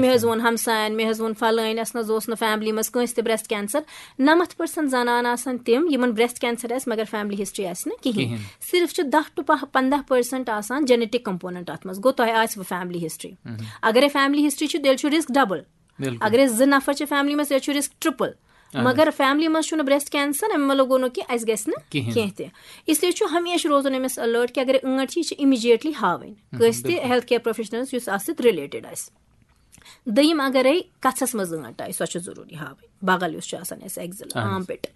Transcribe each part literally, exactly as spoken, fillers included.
مےٚ حظ ووٚن ہمساین، مےٚ حظ ووٚن فلٲنۍ، اَسہِ نہ حظ اوس نہٕ فیملی منٛز کٲنٛسہِ تہِ برٛیسٹ کینسر۔ نَمَتھ پٔرسنٹ زنانہٕ آسان تِم، یِمن برٛیسٹ کینسر آسہِ مگر فیملی ہسٹری آسہِ نہٕ کِہیٖنۍ۔ صرف چھِ دَہ ٹُو پَنٛداہ پٔرسنٹ آسان جینیٹک کمپوننٹ اَتھ منٛز۔ گوٚو، تۄہہِ آسہِ وٕ فیملی ہسٹری۔ اگرے فیملی ہسٹری چھِ، تیٚلہِ چھُ رسک ڈبل۔ اگرے زٕ نفر چھِ فیملی منٛز، تیٚلہِ چھُ رسک ٹرپل۔ مگر فیملی منٛز چھُنہٕ برٛیسٹ کینسر، اَمہِ مطلب گوٚو نہٕ کہِ اَسہِ گژھِ نہٕ کِہیٖنۍ۔ کینٛہہ تہِ۔ اس لیے چھُ ہمیشہِ روزُن أمِس الرٹ کہِ اگر ٲنٹ چھِ، یہِ چھِ امیجیٹلی ہاوٕنۍ کٲنٛسہِ تہِ ہیلتھ کیئر پروفیشنلس، یُس اَتھ سۭتۍ رِلیٹڈ آسہِ۔ دوٚیِم، اگرے کَژھس منٛز ٲنٹ آیہِ، سۄ چھِ ضروٗری ہاوٕنۍ۔ بغل یُس چھُ آسان اَسہِ، ایگزل، آرم پِٹ،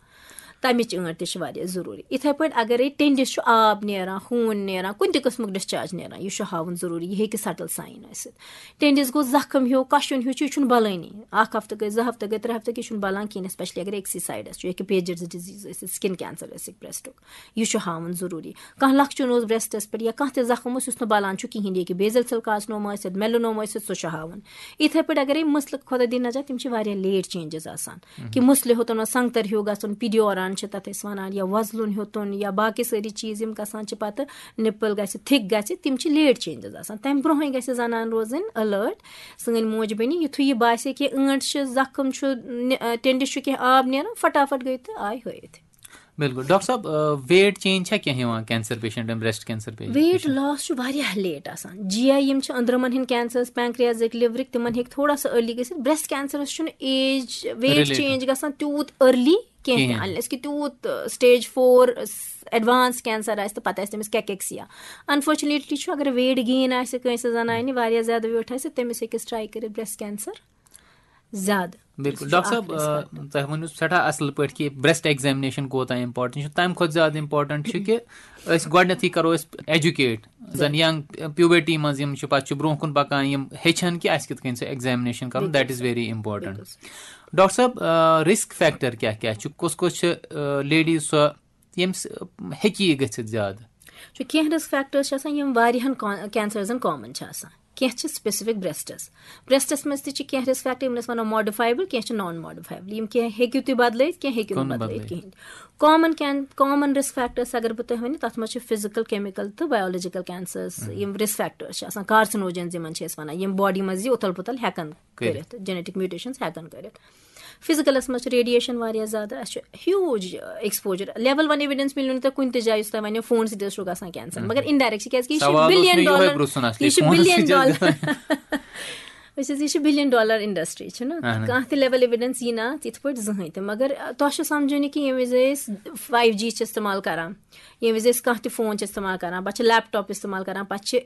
تَمِچ ٲنٹ تہِ چھِ واریاہ ضروٗری۔ یِتھے پٲٹھۍ اگرے ٹیٚنڈِس چھُ آب نیران، خوٗن نیران، کُنہِ تہِ قٕسمُک ڈِسچارج نیران، یہِ چھُ ہاوُن ضروٗری۔ یہِ ہیٚکہِ سٹل ساین ٲسِتھ۔ ٹیٚنڈِس گوٚو زخم ہیوٗ، کَشُن ہیوٗ چھُ، یہِ چھُنہٕ بلٲنی۔ اَکھ ہفتہٕ گٔے، زٕ ہفتہٕ گٔے، ترٛےٚ ہفتہٕ گٔے، یہِ چھُنہٕ بلان کِہیٖنۍ، اسپیشلی اگر أکسٕے سایڈس چھُ، یہِ ہیٚکہِ پیجز ڈِزیٖز ٲسِتھ، سِکِن کینسر ٲسِتھ، برٛیسٹُک، یہِ چھُ ہاوُن ضروٗری۔ کانٛہہ لَکچُن اوس برٛیسٹس پٮ۪ٹھ یا کانٛہہ تہِ زخم اوس یُس نہٕ بلان چھُ کِہیٖنۍ، یہِ ہیٚکہِ بیزل سیل کارسنوما ٲسِتھ، میلنوما ٲسِتھ، سُہ چھُ ہاوُن۔ یِتھے پٲٹھۍ اگرے مٕسلہٕ، خۄدا دِیِن نجات، تِم چھِ واریاہ لیٹ چینجز آسان، کہِ مٕسلہِ ہیوٚتُن وۄنۍ سنگتر ہیوٗ گژھُن، پیڈیوران چھِ تتھ أسۍ ونان، یا وۄزلُن ہیوٚتُن، یا باقٕے سٲری چیٖز یِم گژھان چھِ پتہٕ نِپل گژھِ، تھِک گژھِ، تِم چھِ لیٹ چینجز آسان۔ تمہِ برونٛہٕے گژھِ زنان روزٕنۍ الرٹ۔ سٲنۍ موج بیٚنہِ، یُتھُے یہِ باسہِ کہِ ٲنٹ چھِ، زخم چھُ، نِ-، ٹیٚنڈِس چھُ، کینٛہہ آب نیران، فٹافٹ گٔے تہٕ آیہِ ہٲیِتھ۔ بِلکُل۔ ڈاکٹر صٲب، ویٹ چینج چھا کینٛہہ یِوان کینسر پیشنٹن، breast cancer patient? Weight loss چھُ واریاہ لیٹ آسان۔ جی آی یِم چھِ أنٛدرمن ہٕنٛدۍ کینسرس، پینکریازٕکۍ، لِورٕکۍ، تِمن ہیٚکہِ تھوڑا سا ارلی گٔژھِتھ۔ برٛیسٹ کینسرس چھُنہٕ ایج، ویٹ چینج گژھان تیوٗت ارلی کینٛہہ تہِ، انلیس کہِ تیوٗت سٹیج فور ایڈوانس کینسر آسہِ تہٕ پتہٕ آسہِ تٔمِس کیکیکسیا۔ انفارچُنیٹلی چھُ، اگر ویٹ گین آسہِ کٲنٛسہِ زنانہِ، واریاہ زیادٕ ویٹ آسہِ، تٔمِس ہیٚکہِ ٹرائی کٔرِتھ برٛیسٹ کینسر زیادٕ۔ بِلکُل۔ ڈاکٹر صٲب، تۄہہِ ؤنِو سٮ۪ٹھاہ اَصٕل پٲٹھۍ کہِ برٛیسٹ ایگزامنیشن کوٗتاہ امپورٹنٹ چھُ۔ تَمہِ کھۄتہٕ زیادٕ امپورٹنٹ چھُ کہِ أسۍ گۄڈٕنیتھٕے کرو أسۍ ایجوکیٹ، زَن ینگ پیوبرٹی منٛز یِم چھِ، پَتہٕ چھِ برونٛہہ کُن پَکان، یِم ہیٚچھن کہِ اَسہِ کِتھ کٔنۍ سُہ ایگزامنیشن کرُن، that is very important۔ Doctor صٲب، رسک فیکٹر کیٛاہ کیٛاہ چھُ؟ کُس کُس چھِ لیڈیٖز سۄ، ییٚمِس ہیٚکہِ یہِ گٔژھِتھ زیادٕ؟ چھُ کینٛہہ رسک فیکٹرز چھِ آسان، یِم واریاہن کینسرزن کامن چھِ آسان۔ کینٛہہ چھِ سپیسفک برٛیسٹس۔ برٛیسٹس منٛز تہِ چھِ کینٛہہ رسک فیکٹر، یِمن أسۍ وَنو ماڈیفایبل، کینٛہہ چھِ نان ماڈیفایبل۔ یِم کینٛہہ ہیٚکِو تُہۍ بدلٲیِتھ، کینٛہہ ہیٚکِو نہٕ بدلٲیِتھ کِہیٖنۍ۔ کامن کین کامن رسک فیکٹرز اگر بہٕ تۄہہِ ؤنِو، تَتھ منٛز چھِ فزیکل، کیمیکل تہٕ بایولوجیکل کینسرز، یِم رسک فیکٹرز چھِ آسان، کارسنوجنز یِمن چھِ أسۍ وَنان، یِم باڈی منٛز یہِ اُتھل پُتھل ہٮ۪کان کٔرِتھ۔ کٔرِتھ، جینیٹک میوٹیشنز ہٮ۪کان کٔرِتھ۔ فزیکلس منٛز چھُ ریڈیشن واریاہ زیادٕ، اَسہِ چھُ ہیوٗج ایکسپوجر۔ لیول ون ایویڈنس مِلیو نہٕ تۄہہِ کُنہِ تہِ جایہِ یُس تۄہہِ وَنیو فون سۭتۍ حظ چھُ گژھان کینسر، مگر انڈائریکٹ چھِ، کیازِ کہِ یہِ چھُ سوال اوس بلین مےٚ یِہوے ڈالر، پرٛژھُن اَصلی، یہِ چھُ فونس بلین سۭتۍ حظ ڈالر۔ گژھان۔ وٕچھ حظ، یہِ چھُ بلین ڈالر انڈسٹری، چھُنہ؟ اہن۔ کانٛہہ تہِ لیول ایویڈنس یی نہٕ اَتھ یِتھ پٲٹھۍ زٕہٕنۍ تہِ، مگر تۄہہِ چھُ سمجھُن یہِ کہِ ییٚمہِ وِزِ أسۍ فایو جی چھِ استعمال کران، ییٚمہِ وِزِ أسۍ کانٛہہ تہِ فون چھِ استعمال کران، پتہٕ چھِ لیپ ٹاپ استعمال کران، پتہٕ چھِ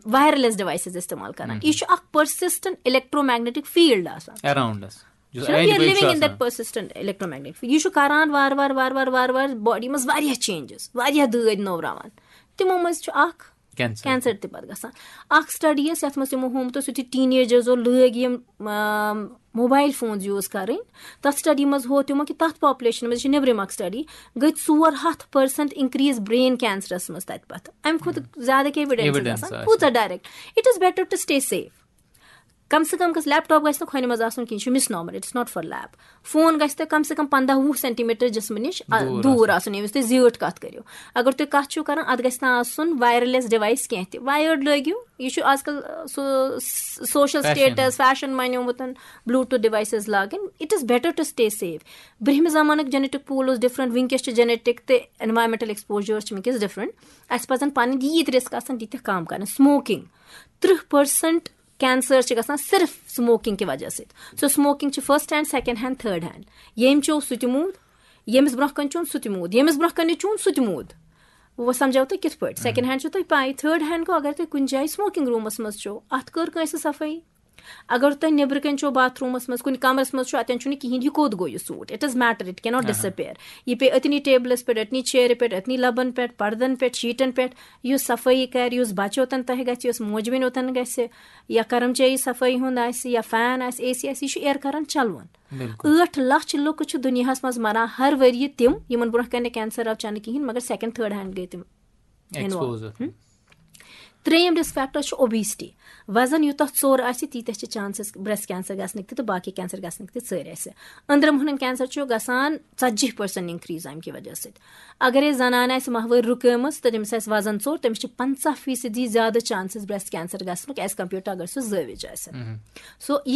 وایرلیس ڈیوایسز استعمال کران، یہِ چھُ اکھ پٔرسسٹنٹ الیکٹرومیگنیٹک فیلڈ آسان۔ اراؤنڈس۔ یُس چھُنہ، أنٛدۍ we are پٔکۍ چھُ living in آسان۔ That persistent electromagnetic field۔ یہِ چھُ کران وار وار وار وار وار وار باڈی منٛز واریاہ چینجز، واریاہ دٲدۍ نوراوان۔ تِمو منٛز چھُ اکھ کینسر۔ کینسر تہِ پتہٕ گژھان۔ اکھ سٹڈی ٲس، یتھ منٛز تِمو ہومُت اوس، یُتھُے ٹین ایجرزو لٲگۍ یِم، آم، موبایل فونز یوٗز کرٕنۍ، تتھ سٹڈی منٛز ہوو تِمو کہِ تتھ پاپولیشن منٛز، یہِ چھِ نیٚبرِم اکھ سٹڈی، گٔے ژور ہتھ پٔرسنٹ انکریز برین کینسرس منٛز تتہِ پتہٕ۔ امہِ کھۄتہٕ زیادٕ کیٛاہ ایویڈنس ایویڈنس آسان؟ آسہِ۔ کۭژاہ direct? It is better to stay safe۔ کم سے کم گژھِ، لیپ ٹاپ گژھِ نہٕ کھۄنہِ منٛز آسُن کِہیٖنۍ، یہِ چھُ مِس نامر، it's not for lab۔ Phone گژھِ تۄہہِ کم سے کم پنٛداہ وُہ سینٹی میٹر جسمہٕ نِش، آ، دوٗر دوٗر آسُن۔ آسُن، ییٚمہِ وِزِ تُہۍ زیٖٹھ کتھ کٔرِو۔ اگر تُہۍ کتھ چھِو کران، اتھ گژھِ نہٕ آسُن وایرلیس ڈیوایس کینٛہہ تہِ، وایٲرڈ لٲگِو۔ یہِ چھُ آز کل، آ، سُہ س-، سوشل فیشن۔ سٹیٹس، فیشن مٲنِو وُتن، بلوٗٹوتھ ڈیوایسز لاگٕنۍ۔ It is better to stay safe۔ برٛہمہِ زمانُک جینیٹک پول اوس ڈفرنٹ، وٕنکیٚس چھِ جینیٹک تہٕ انوائرمنٹل ایکسپوجر چھِ وٕنکیٚس ڈفرنٹ۔ اسہِ پزن پنٕنۍ ییٖتۍ رسک آسن، تیٖتیٛاہ کم کرٕنۍ۔ سموکنگ، ترٕٛہ پٔرسنٹ کینسر چھِ گژھان صرف سموکنگ کہِ وجہ سۭتۍ۔ سو سموکنگ چھِ first hand, second hand, third hand. ییٚمۍ چیوٚو سُہ تہِ موٗد، ییٚمِس برونٛہہ کنہِ چیوٚو سُہ تہِ موٗد، ییٚمِس برونٛہہ کنہِ نہٕ چیوٚو سُہ تہِ موٗد۔ وۄنۍ سمجھاو تۄہہِ کِتھ پٲٹھۍ؟ سیکنڈ ہینڈ چھُ تۄہہِ پاے، تھرڈ ہینڈ گوٚو اگر تُہۍ کُنہِ جایہِ سموکنگ روٗمس منٛز چھِو، اتھ کٔر کٲنٛسہِ صفٲیی؟ اگر تۄہہِ نیٚبرٕ کنہِ چھِو باتھ روٗمس منٛز، کُنہِ کمرس منٛز چھِو، اتٮ۪ن چھُنہٕ کِہیٖنۍ، یہِ کوٚت گوٚو یہِ suit? It is matter, it cannot disappear۔ یہِ پیٚیہِ أتنی ٹیبلس پٮ۪ٹھ، أتنی چیرِ پٮ۪ٹھ، أتنی لبن پٮ۪ٹھ، پردن پٮ۪ٹھ، شیٖٹن پٮ۪ٹھ۔ یُس صفٲیی کرِ، یُس بچہِ اوتن تۄہہِ گژھِ، یُس موج بیٚنہِ اوتن گژھِ، یا کرمچٲری صفٲیی ہُنٛد آسہِ، یا فین آسہِ، اے سی آسہِ، یہِ چھُ ایر کران چلوُن۔ بِلکُل۔ ٲٹھ لچھ لُکھ چھِ دُنیاہس منٛز مران ہر ؤریہِ تِم، یِمن برونٛہہ کنہِ کینسر آو چنہٕ کِہیٖنۍ، مگر سیکنڈ، تھرڈ ہینڈ گٔے تِم۔ ایکسپوز۔ ہم۔ ترٛیٚیِم رسک فیکٹر چھُ اوبیسٹی۔ وزن یوٗتاہ ژوٚر آسہِ، تیٖتیٛاہ چھِ چانسز برٛیسٹ کینسر گژھنٕکۍ تہِ تہٕ باقٕے کینسر گژھنٕکۍ تہِ ژٔرۍ آسہِ۔ أنٛدرمہٕ ہُنٛد کینسر چھُ گژھان ژتجی پٔرسنٹ انکریز امہِ کہِ وجہ سۭتۍ۔ اگر أسۍ زنان آسہِ ماہوٲرۍ رُکٲمٕژ تہٕ تٔمِس آسہِ وزن ژوٚر، تٔمِس چھِ پنٛژاہ فیصدی زیادٕ چانسز برٛیسٹ کینسر گژھنُک ایز کمپیئر ٹو اگر سُہ زٲوِج آسہِ۔ سو یہِ